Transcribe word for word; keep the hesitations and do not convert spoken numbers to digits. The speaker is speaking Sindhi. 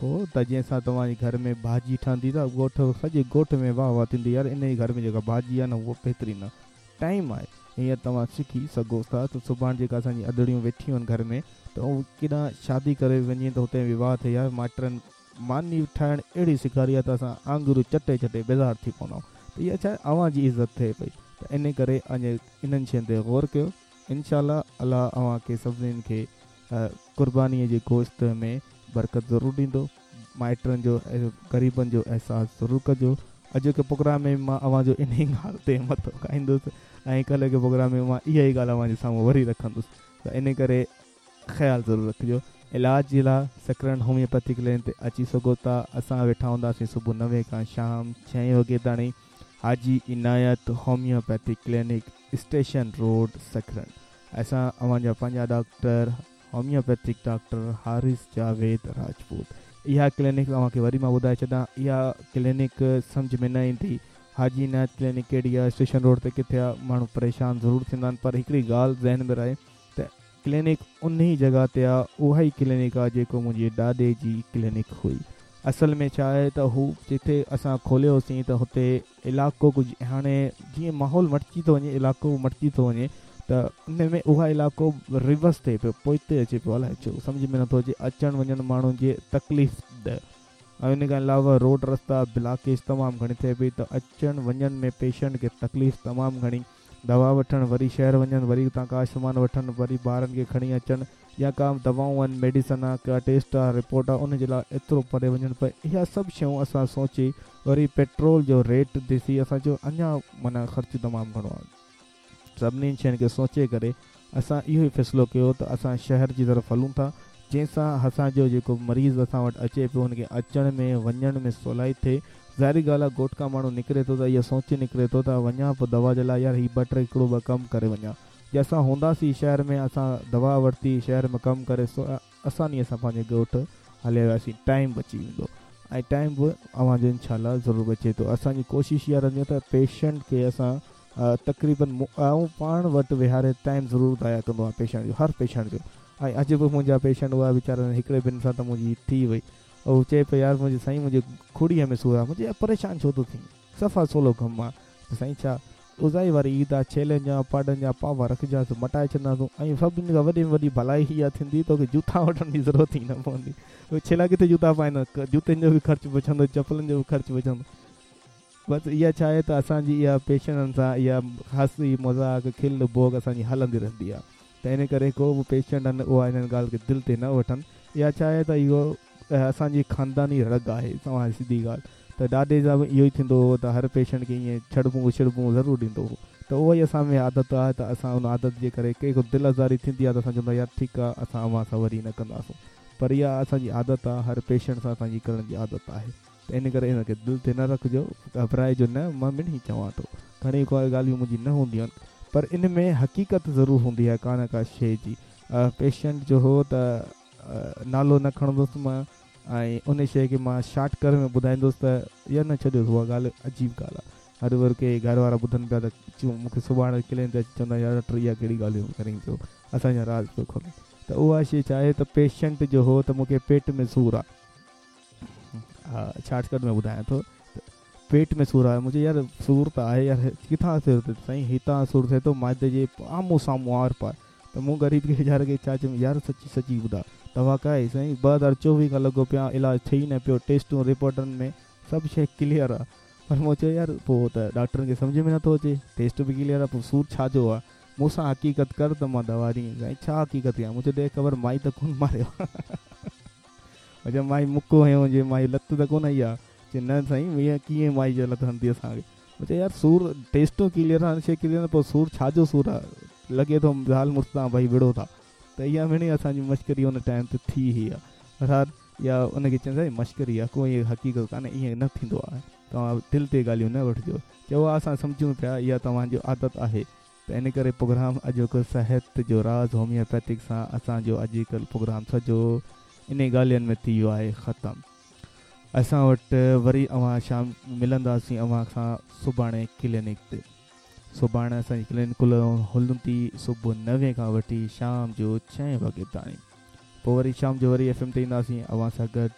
ته جنهن سان توهان جي گهر ۾ ڀاڄي ٺهندي ته ڳوٺ سڄي ڳوٺ ۾ واهه واهه ٿيندي يار ان جي گهر ۾ جيڪا ڀاڄي آهي نه اها بهترين آهي. ٽائيم آهي هينئر توهان سکي سگهو ٿا ته سڀاڻي جيڪا اسان جي ادڙيون ويٺيون آهن گهر ۾ ته اهي ڪيڏانهن شادي ڪري وڃي ته هتي وواهه ٿئي يار مائٽن ماني ٺاهڻ اهڙي سيکاري آهي ته اسان آڱريون چٽي چٽي بيزار ٿي پوندا آهيون ته اها ڇا اوهان جي عزت ٿئي پئي ته ان ڪري انهن شين تي غور ڪيو. انشاء الله الله اوهان کي سڀني کي قربانيء جي گوشت ۾ برڪت ضرور ڏيندو. مائٽن جو غريبن جو احساس ضرور ڪجو. اڄوڪي پروگرام ۾ مان اوهان جو انهي ڳالهه تي مٿو کائيندس ۽ ڪالهوڪي پروگرام ۾ مان اها ئي ڳالهه اوهان جي سامهون وري رکندس ته انهي ڪري خيال ضرور رکجو. علاج جي لاء سڪرنڊ هوميوپيٿي ڪلينڪ تي اچي سگهو ٿا. اسان ويٺا هونداسين صبح نوين کان شام ڇهين وڳي تاڻي. Haji Inayat homeopathy clinic, station road, Sakrand. اسان اوهان جا پنهنجا doctor homeopathic doctor Haris Javed Rajput. اها ڪلينڪ اوهان کي وري مان ٻڌائي ڇڏان، اها ڪلينڪ سمجهه ۾ نه ايندي حاجي عنايت ڪلينڪ ڪهڙي آهي، اسٽيشن روڊ تي ڪٿي آهي، ماڻهو پريشان ضرور ٿيندا آهن پر هڪڙي ڳالهه ذهن ۾ رهي ته ڪلينڪ انهي جڳهه تي آهي، اها ئي ڪلينڪ آهي جيڪو منهنجي ڏاڏي جي ڪلينڪ هئي. اصل ۾ ڇا آهي ته هو جتي اسان کوليوسين ته هتي علائقو ڪجهه هاڻي جيئن ماحول مٽجي ٿو وڃي علائقو مٽجي ٿو وڃي ته ان ۾ اها علائقو ريورس ٿئي پيو، پوئتي اچي پيو، الائي ڇو سمجهه ۾ نٿو اچي، اچڻ وڃڻ ماڻهن جي تڪليف ده ۽ ان کان علاوه روڊ رستا بلاڪيج تمام گهڻي ٿئي پئي ته اچڻ وڃڻ ۾ پيشنٽ کي تڪليف تمام گهڻي، دوا وٺڻ وري شهر وڃن وري اتان ڪا سامان وٺن وري ٻارن کي کڻي اچن يا ڪا دوائون آهن ميڊيسن آهي ڪا ٽيسٽ آهي رپورٽ آهي ان جي لاء ايترو پري وڃڻ پئي. اها سڀ شيون اسان سوچي وري پيٽرول جو ريٽ ڏسي اسان چيو اڃا معنيٰ خرچ تمام گهڻو آهي. سڀني شين کي سوچي ڪري اسان اهو ئي فيصلو ڪيو ته اسان شهر جي طرف هلون ٿا جنهن سان اسان جو جيڪو مريض اسان وٽ اچي پيو ان کي اچڻ ۾ وڃڻ ۾ سولائي ٿئي. ظاهري ڳالهه آهي ڳوٺ کان ماڻهو نڪري ٿو ته اها سوچي نڪري ٿو ته وڃان پيو دوا جي لاء يار هي ٻه ٽي هڪڙو ٻه ڪم ڪري وڃان. جي اسان هونداسين شهر ۾ اسان دوا ورتي شهر ۾ ڪم ڪري سو آسانيء سان پنهنجي ڳوٺ هليا وياسين، ٽائيم بچي ويندو ۽ ٽائيم به اوهان جو انشاء الله ضرور بچي ٿو. اسان جي ڪوشش اها رهندي آهي ته پيشنٽ کي اسان تقريبن آئون پاڻ وٽ ويهاري ٽائيم ضرور ضايع ڪندو آهيان پيشنٽ جو، هر پيشنٽ جو. ۽ اڄ به منهنجا پيشنٽ هئا ويچارن هڪڙي ٻن سان ته منهنجي ٿي وئي. هو چئي پيو يار منهنجي سائين منهنجي کڙيء ۾ سور آهي. منهنجي يار پريشان ڇو ٿو ٿين، صفا سولو ڪم آهي. سائين ڇا اوزائي واري عيد آ، ڇيلن جا پاڏن جا پاوا رکجانس مٽائي ڇڏنداسون ۽ سڀني کان وڏي ۾ وڏي ڀلائي اها ٿيندي توکي جوتا وٺڻ جي ضرورت ئي نه پوندي. اهي ڇيلا ڪٿي جوتا پائيندا، جوتن جو به خرچ بچندو، چپلن جو به خرچ بچندو. بس اها ڇا آهي ته اسان جي اها پيشنٽن سان اها هسي مذاق کل ڀوڳ اسان جي هلندي رهندي آهي ته ان ڪري ڪو به پيشنٽ آهن اها انهن ڳالهه کي دل تي نه وٺن. اها ڇا آهي ته اهو اسان جي خانداني رڳ آهي، توهان سڌي ڳالهه ته ڏاڏي سان به اهو ئي ٿيندو هو ته هر پيشنٽ کي ائين ڇڙبون ڇڙبون ضرور ڏيندو هو ته اها ئي اسان ۾ عادت آهي ته اسان ان عادت جي ڪري ڪنهن کي دل آزاري ٿيندي آهي ته اسان چوندا يار ٺيڪ آهي اسان اوهان سان وري نه ڪنداسون پر اها اسان جي عادت آهي هر پيشنٽ سان اسان جي ڪرڻ جي عادت آهي ته ان ڪري ان کي دل تي نه رکجو، گهٻرائجو نه، مان مڙئي چوان ٿو گهڻي ڳالهيون منهنجي نه هونديون آهن پر ان ۾ حقيقت ضرور هوندي آهي ڪا نه ڪا شيء جي. پيشنٽ جو هو ته نالو نه کڻندس مان ۽ ان شيء کي مان شارٽ ڪر ۾ ٻڌائيندس ته يا نه ڇڏيوس اها ڳالهه عجيب ڳالهه آهي. هر ور ڪي گهر وارا ٻڌن پيا ته مون کي سڀاڻي ڪلين تي اچي چوندا يار ڊاڪٽر اها ڪهڙي ڳالهيون ڪرين پيو اسان جا راز پيو کولين. ته اها شيء ڇا آهي ته پيشنٽ جو هو ته مون کي پيٽ ۾ سور آهي، ها شارٽ ڪٽ ۾ ٻڌايان ٿو ته پيٽ ۾ سور آهي. مون چيو يار سور ته آهي يار ڪٿان سور ٿئي ٿو؟ سائين هتان سور ٿئي ٿو معدي جي آمهون سامهون آر پار. ته مون غريب کي ويچاري کي ڇا چيم يار سچي سچي ٻڌاء دوا ڪا آهي؟ سائين ٻه هزار چوويهه کان لڳو پيو آهيان علاج ٿئي ئي نه پيو، ٽيسٽون رپورٽن ۾ سڀ شيء ڪليئر آهي. پر مون چيو يار پوء ته ڊاڪٽرن کي سمجهه ۾ نٿو اچي، ٽيسٽ به ڪليئر آهي پوء سور ڇا جو آهي؟ مون سان حقيقت ڪر ته مان دوا ڏئين. سائين ڇا حقيقت ڪيان؟ مون چيو ڏي خبر مائي ته ڪونه ماريو آهي. مون چيو مائي مڪو هنيو هجي، مائي لت ته ڪونه هنئي آهي؟ چي نه سائين ائين ڪيئن مائي جو لت هڻندي اسان کي؟ مون چيو يار سور ٽيسٽون ڪليئر آهن شيء ڪليئر آهن پوء سور ڇا جو سور آهي؟ لڳي ٿو زال مڙس تان ڀئي وڙهو ٿا. ته اها مڙئي اسان جي مشڪري ان ٽائيم تي ٿي هئي آهي. بهرحال يا ان کي چون سائين مشڪري آهي ڪو ائين حقيقت ڪانهي ائين نه ٿيندو آهي توهان دل تي ڳالهيون نه وٺجو. چئو ها اسان سمجهون پيا اها توهان جو عادت آهي ته ان ڪري پروگرام اڄوڪو صحت جو راز هوميوپيٿڪ سان اسان جو اڄڪلهه پروگرام سڄو انهي ڳالهين ۾ ٿي ويو آهي ختم. اسان وٽ وري اوهان شام ملنداسين اوهان سان سڀاڻي ڪلينڪ تي. سڀاڻي اسان جي ڪلينڪ هلندي صبح نوين کان وٺي شام جو ڇهين وڳي تائين. پوء وري شام جو وري ايف ايم تي اينداسين اوهان سان گڏ